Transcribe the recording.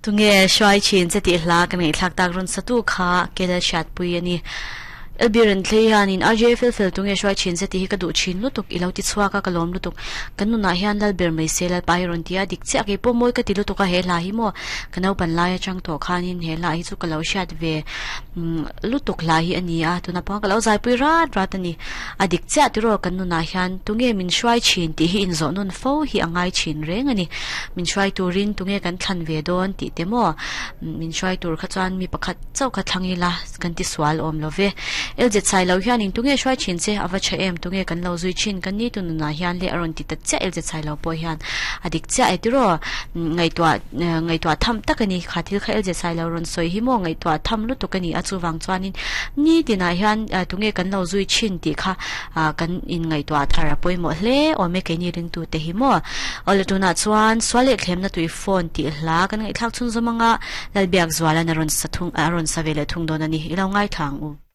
Tunge hruai thin che tih hla ka ngaihthlak tak rawn satu kha Kel hriatpui a ni. Elbi Renthlei hianin RJ fel fel tunge hruai thin che tih hi ka duh thin lutuk i lo ti chhuak a ka lawm lutuk. Kan nunah hian Lalber mai se Lalpa hi rawn ti a dik chiah kei pawh mawi ka ti lutuk a he hla hi maw ka naupan lai atang tawh khanin he hla hi chu ka lo hriat ve lutuk hla hi a ni a tuna pawh ka lo zaipui rat rat a ni. A dik chiah tiraw kan nunah hian tunge min hruai thin tih hi inzawh nawn fo hi a ngai thin reng a ni. Min hruai turin tunge kan thlan ve dawn tih te maw? Min hruai tur kha chuan mi pakhat chauh kha thlang ila kan ti sual awm lo ve. Elzet sai lo hianin tunge hruai thin che a va tha em tunge kan lo zui thin kan ni tu nunah hian le a rawn ti ta chiah Elzet sai lo pawh hian a dik chiah e tiraw? Ngaihtuah ngaihtuah tham tak a ni. Kha thil kha Elzet sai lo rawn sawi hi maw ngaihtuah tham lutuk a ni a chuvang chuanin ni tinah hian tunge kan lo zui thin tih kha kan inngaihtuah thar a pawimawh hle awm e keini ringtute hi maw. Awle tunah chuan sual leh thlemna tui phone tih hla kan ngaihthlak chhunzawm anga Lalbiakzuala'n a rawn sa thung a rawn sa ve leh thung dawn a ni. I lo ngaithla ang u.